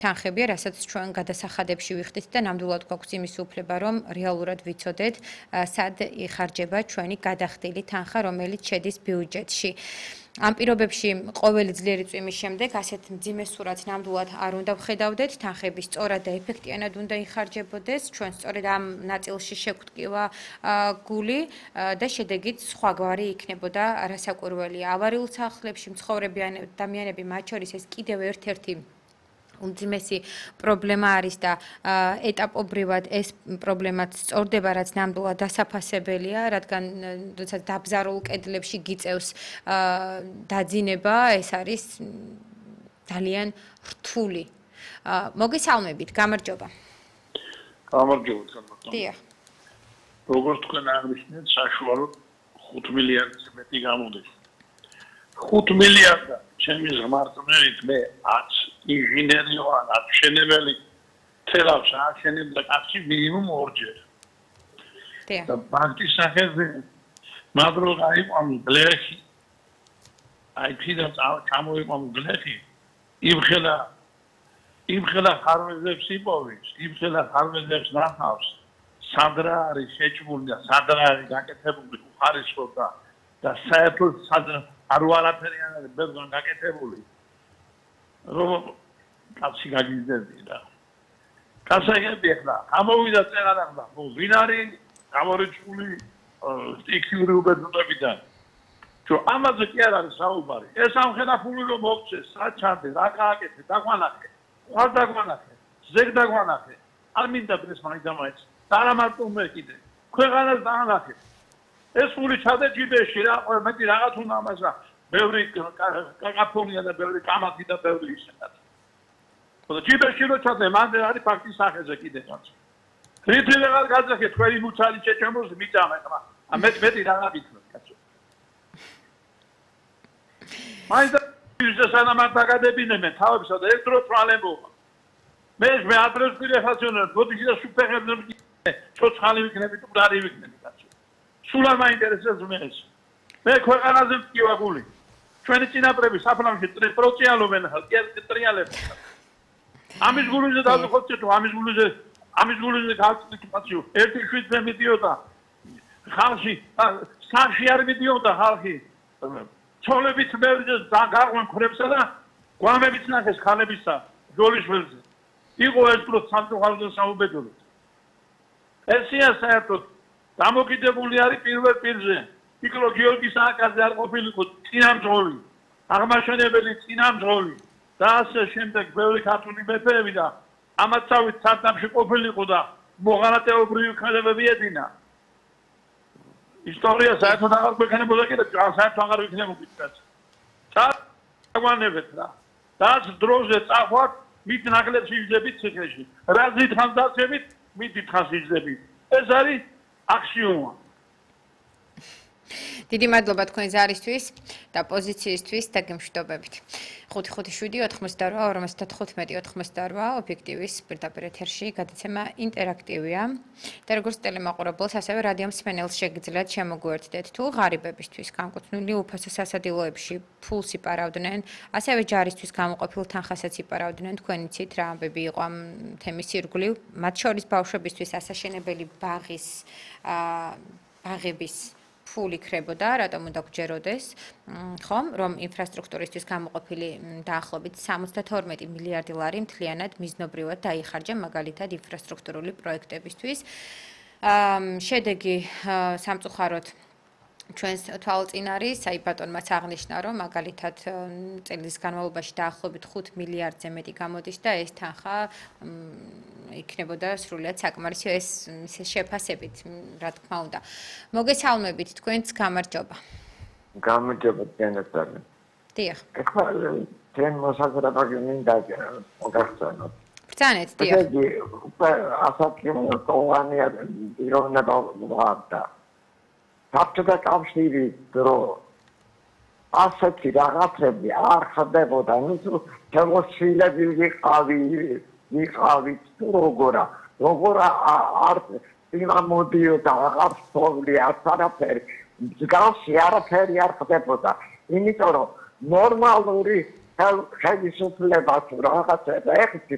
თანხებია, რასაც ჩვენ გადასახადებში ვიხდით და ნამდვილად გვაქვს იმის უფლება, რომ რეალურად ვიცოდეთ, სად იხარჯება ჩვენი გადახდილი თანხა, რომელიც შედის ბიუჯეტში. Ამ პირობებში ყოველი ძლიერი წვიმის შემდეგ ასეთ მძიმე სურათს ნამდვილად არ უნდა ვხედავდეთ, თანხები სწორად და ეფექტიანად უნდა იხარჯებოდეს, ჩვენ სწორედ ამ ნაწილში შეგვტკივა გული და შედეგით სხვაგვარი იქნებოდა არასაკურველია. ავარიულ სახლებში მცხოვრები ადამიანები, მათ შორის ეს კიდევ ერთ-ერთი უმძიმესი პრობლემა არის და ეტაპობრივად ეს პრობლემაც სწორდება, რაც ნამდვილად დასაფასებელია, რადგან როდესაც დაბზარულ კედლებში გიწევს დაძინება, ეს არის ძალიან რთული. მოგესალმებით, გამარჯობა. გამარჯობა. დიახ. როგორც თქვენ აღნიშნეთ, საშუალოდ 5 მილიარდს მეტი გამოდის. 5 მილიარდა ჩემი ზმარწმენით მე 10 ინჟინერი ვარ, 10 მშენებელი თელავს ააშენებდა კაცი მინიმუმ 2-ჯერ. და ბანკის სახეზე მაგრამ აიყვანო ბლექი. აი ფიდა ჩამოიყვანო ბლექი. იმხელა ხარვეზებს იპოვის, იმხელა ხარვეზებს ნახავს. სადრა არის შეჭმული და სადრა არის გაკეთებული უხარისხო და საერთოდ სადრა არ ვარაფერი არის ბერგან გაკეთებული. რომ კაცი გაგიზრდა. კაცები ახლა ამოვიდა წერანახლა, ვინ არის გამორიცხული სტიქიური უბედურებიდან. თუ ამაზე კი არ არის საუბარი. ეს ამხელა ფული რომ მოგწეს, საჩანდე, რა გააკეთე, დაგვანახე. ხარ დაგვანახე, ზეგ დაგვანახე. არ მინდა ეს მაინც და რა მარტო მე კიდე. ქვეყანას დაანახე. ეს ფული ჩადე ჯიბეში რა, მეტი რაღაც უნდა ამასა. ბევრი კაკაფონია და ბევრი კამათი და ბევრი ისედაც. ხო ჯიბეში რო ჩადე, მანდ არის ფაქტის სახეზე კიდე რაც. რითი ვეღარ გაძახე თქვენი მუცალი შეჭამოს მიწამა ხმა. მეტი რა გიქნოთ კაცო. მაინც ის სანამარ დაგადებინებენ თავებსა და ერთ დროს ვალებობა. მე ადრეს ვირეხაციონერ, ბოდიში და სუპერჰეროები ცოცხალი ვიქნები თუ მდარი ვიქნები კაცო. სულ არ მაინტერესებს მე ეს. მე ქვეყანაზე მტკივა გული. ჩვენი წინაპრები საფრანგეთში პროცეალობენ ტრიალებს. ამის გულზე დავიხოცე თუ ამის გულზე გავწიკაციო. 1.7-ზე მიდიოდა ხალხი, სახში არ მიდიოდა ხალხი. ცოლებით მერზე გაღვენ ქრებსა და გვამებიც ნახეს ხალებისა ჯოლიშველზე. იყო ეს პრო სამწუხაროდ საუბედუროდ. ესია საერთოდ დამოკიდებული არის პირველ პირზე. იკლო გიორგის აკაზე არ ყოფილიყო წინამძღოლი, აღმაშენებელი წინამძღოლი და ასე შემდეგ ბევრი ქართული მეფეები და ამაცავით სარდაფში ყოფილიყო და მოღალატეობრივი ქმედებები ედინა. ისტორია საერთოდ აღარ გვექნებოდა კიდე საერთოდ აღარ ვიქნებოდა. წაგვანებეთ რა. დაც დროზე წახვათ მით ნაკლებს იზდებით ციხეში. რა დიდხანს დაცემით, მით დიდხანს იზდებით. ეს არის აქსიომა. დიდი მადლობა თქვენ ზარისთვის და პოზიციისთვის და გემშვიდობებით. 557-88-45-88 ობიექტივის პირდაპირ ეთერში გადაცემა ინტერაქტივია და როგორც ტელემაყურებელს, ასევე რადიო მსმენელს შეგიძლიათ შემოგვერთდეთ თუ ღარიბებისთვის განკუთვნილი უფასო სასადილოებში ფულს იპარავდნენ, ასევე ჯარისთვის გამოყოფილ თანხასაც იპარავდნენ, თქვენ იცით რა ამბები იყო ამ თემის ირგვლივ, მათ შორის ბავშვებისთვის ასაშენებელი ბაღების ფული ხრებოდა, რატომ უნდა გჯეროდეს, ხომ, რომ ინფრასტრუქტურისთვის გამოყოფილი დაახლოებით 72 მილიარდი ლარი მთლიანად მიზნობრივად დაიხარჯა მაგალითად ინფრასტრუქტურული პროექტებისთვის. შედეგი სამწუხაროდ ჩვენს თვალწინ არის, აი ბატონმაც აღნიშნა, რომ მაგალითად წელს განმავლობაში დაახლოებით 5 მილიარდზე მეტი გამოდის და ეს თანხა იქნებოდა სრულიად საკმარისი, ეს შეფასებით, რა თქმა უნდა. მოგესალმებით, თქვენც გამარჯობა. გამარჯობა თქვენთან. დიახ. ეხლა ჩვენ მოსაზრება მინდა მოგახსენოთ. ბრძანეთ, დიახ. იგი ასაკი კოლანია პიროვნება ვარდა. საბჭოთა კავშირი დრო ასეთი რაღაცები არ ხდებოდა, ნუ შემოსილები ვიყავით თუ როგორა არ იმამოდიოდა აღარ სწავლი არაფერი მსგავსი არაფერი არ ხდებოდა, იმიტომ რომ ნორმალური ხელისუფლება თუ რაღაცა ეხეთი